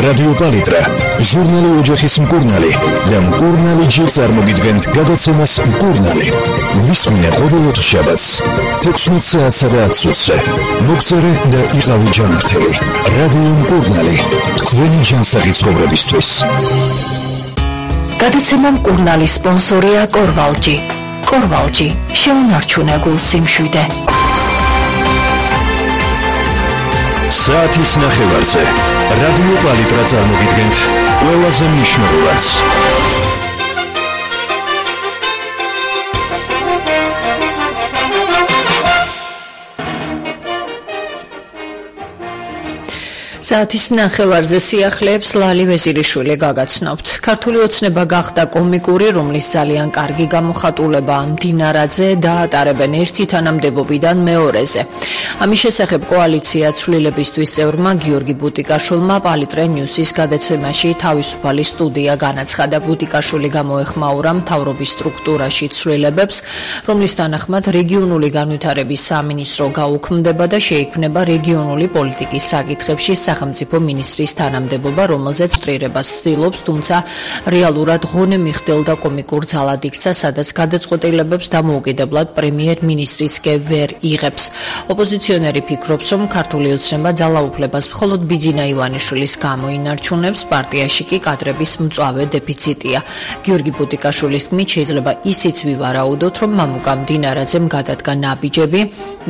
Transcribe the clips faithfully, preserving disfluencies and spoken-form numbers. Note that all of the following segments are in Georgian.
რადიო პალიტრა, ჟურნალი ოჯახის მკურნალი და მკურნალი ჯერ წარმოგიდგენთ გადაცემას მკურნალი. ვისმინე ყოველ შაბათს თექვსმეტ საათსა და ათს ოცზე. მოგწერე და იყავი ჯანმრთელი. რადიო მკურნალი, თქვენი ჯანსაღი ცხოვრებისთვის. გადაცემა მკურნალის სპონსორია კორვალჯი. კორვალჯი, შეუნარჩუნე გულ სიმშვიდე. საათის ნახევარზე რადიო პალიტრა წარმოგიდგენთ ყველაზე მნიშვნელოვანს. საათის ნახევარზე სიახლეებს ლალი ვეზირიშვილი გაგაცნობთ. ქართული ოცნება გახდა კომიკური, რომლის ძალიან კარგი გამოხატულება მდინარაძე და ატარებენ ერთი თანამდებობიდან მეორეზე. ამის შესახებ კოალიცია ცვლილებისთვის წევრმა გიორგი ბუტიკაშვილმა პალიტრა ნიუსის გადაცემაში თავისუფალი სტუდია განაცხადა. ბუტიკაშვილი გამოეხმაურა მთავრობის სტრუქტურაში ცვლილებებს, რომლის თანახმად რეგიონული განვითარების სამინისტრო გაუქმდება და შეიქმნება რეგიონული პოლიტიკის საკითხებში სახელმწიფო მინისტრის თანამდებობა, რომელზეც წრირებას ცდილობს, თუმცა რეალურად ღონე მიხდელდა კომიკურ ძალად იქცა, სადაც გადაწყვეტილებებს დამოუკიდებლად პრემიერ-მინისტრისკე ვერ იღებს. ოპოზიციონერი ფიქრობს, რომ ქართული ოცნება ძალაუფლებას მხოლოდ ბიძინა ივანიშვილის გამო ინარჩუნებს, პარტიაში კი კადრების მწვავე დეფიციტია. გიორგი ბუტიკაშვილის თქმით, შეიძლება ისიც ვივარაუდოთ, რომ მამუკა მდინარაძემ გადადგა ნაბიჯები,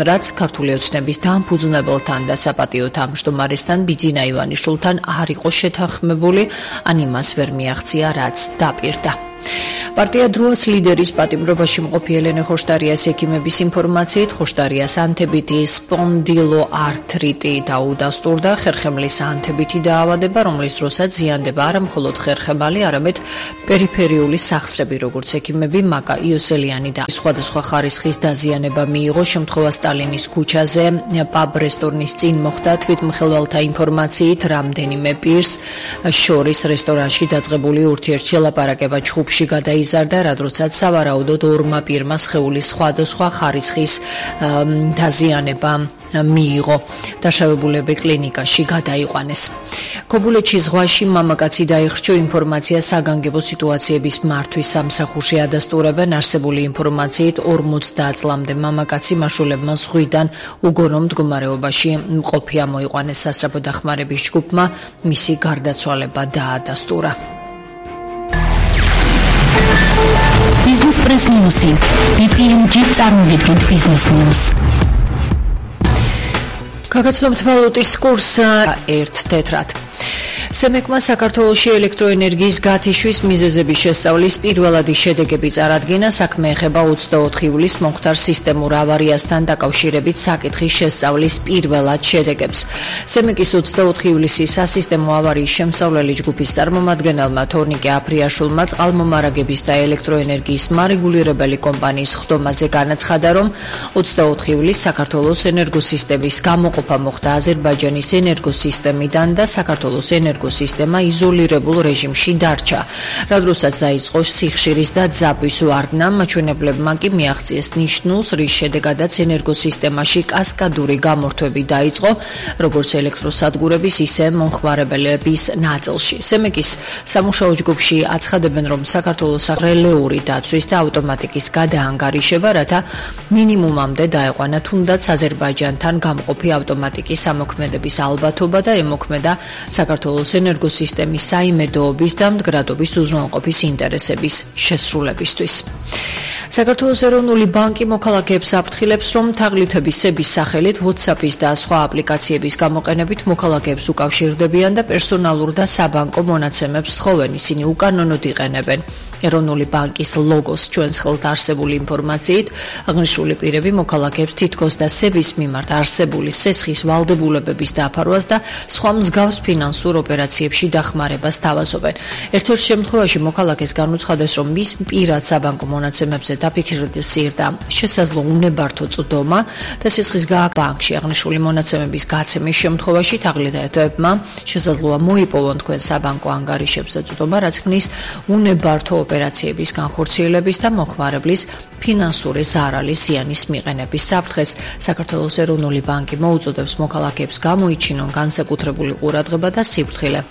რაც ქართული ოცნების დამფუძნებელთან და საპატიო თავმჯდომარესთან ბიძინა ივანიშვილთან არ იყო შეთანხმებული, ან იმას ვერ მიაღწია, რაც დაპირდა. პარტია დროას ლიდერის პატიმრობაში მყოფი ელენე ხოშტარიას ექიმების ინფორმაციით, ხოშტარიას ანთებითი სპონდილოართრიტი დაუდასტურდა, ხერხემლის ანთებითი დაავადება, რომლის დროსაც ზიანდება არა მხოლოდ ხერხემალი, არამედ პერიფერიული სახსრები, როგორც ექიმები მაკა იოსელიანი და სხვადასხვა ხარისხის დაზიანება მიიღო. შემთხვევა სტალინის ქუჩაზე პაბ რესტორნის წინ მოხდა. თვითმხილველთა ინფორმაციით, რამდენიმე პირს შორის რესტორანში დაწყებული ურთიერთში ლაპარაკება ჩხუბში გადაიზარდა, რადგან სავარაუდოდ ორმა პირმა სხეულის სხვადასხვა ხარისხის დაზიანება მიიღო. დაშავებულები კლინიკაში გადაიყვანეს. ქობულეთში ზღვაში მამაკაცი დაიხრჩო. ინფორმაცია საგანგებო სიტუაციების მართვის სამსახურში ადასტურებენ. არსებული ინფორმაციით ორმოცდაათ წლამდე მამაკაცი მაშულებმა ზღვიდან უგონო მდგომარეობაში მყოფი ამოიყვანეს. სასწრაფო დახმარების ჯგუფმა მისი გარდაცვალება დაადასტურა. Business Press News. ბი პი ემ ჯი წარმოგიდგენთ Business News. გაგაცნობთ ვალუტის კურსს ერთ თეთრად. სემეკმა საქართველოში ელექტროენერგიის გათიშვის მიზეზების შესწავლის პირველადი შედეგები წარადგინა. საქმე ეხება ოცდაოთხ ივლისს მომხდარ სისტემურ ავარიასთან დაკავშირებით საკითხის შესწავლის პირველად შედეგებს. სემეკის ოცდაოთხ ივლისის სასისტემო ავარიის შემსავლელი ჯგუფის წარმომადგენელმა თორნიკე აფრიაშვილმა წყალმომარაგების და ელექტროენერგიის მარეგულირებელი კომპანიის ხდომაზე განაცხადა, რომ ოცდაოთხ ივლისს საქართველოს ენერგოსისტემის გამოყოფა მოხდა აზერბაიჯანის ენერგოსისტემიდან და საქართველოს ენერგო სისტემა იზოლირებულ რეჟიმში დარჩა. რა დროსაც დაიწყო სიხშირის და ძაბვის ვარდნა, მაჩვენებლებმა კი მიაღწიეს ნიშნულს, რის შედეგადაც ენერგოსისტემაში კასკადური გამორთვები დაიწყო, როგორც ელექტროსადგურების, ისე მომხმარებლების ნაწილში. სემეკის სამუშაო ჯგუფში აცხადებენ, რომ საქართველოს რელეური დაცვის და ავტომატიკის გადაანგარიშება, რათა მინიმუმამდე დაეყვანა თუნდაც აზერბაიჯანთან გამყოფი ავტომატიკის ამოქმედების ალბათობა და ემოქმედა საქართველოს ენერგოსისტემის საიმედოობის და მდგრადობის უზრუნველყოფის ინტერესების შესრულებისთვის. საქართველოს ეროვნული ბანკი მოქალაქეებს აფრთხილებს, რომ თაღლითების სების სახელით WhatsApp-ის და სხვა აპლიკაციების გამოყენებით მოქალაქეებს უკავშირდებიან და პერსონალურ და საბანკო მონაცემებს თხოვენ. ისინი უკანონოდ იყენებენ ეროვნული ბანკის ლოგოს. ჩვენს ხელთ არსებული ინფორმაციით, აღნიშნული პირები მოქალაქეებს თითქოს და სების მიმართ არსებული სესხის ვალდებულებების დაფარვას და სხვა მსგავს ფინანსურ ოპერაციებში დახმარებას თავაზობენ. ერთ-ერთ შემთხვევაში მოქალაქეს განუცხადეს, რომ მის პირად საბანკო მონაცემებზე დაფიქსირდა შესაძლო უნებართო წვდომა და სისხლის გააქვთ ბანკში. აღნიშნული მონაცემების გაცემის შემთხვევაში თაღლითებმა შესაძლოა მოიპოვონ თქვენ საბანკო ანგარიშებზე წვდომა, რაც ქმნის უნებართო ოპერაციების განხორციელების და მოხმარებლის ფინანსური ზარალის ზიანის მიყენების საფრთხეს. საქართველოს ეროვნული ბანკი მოუწოდებს მოქალაქეებს გამოიჩინონ განსაკუთრებული ყურადღება და სიფრთხილე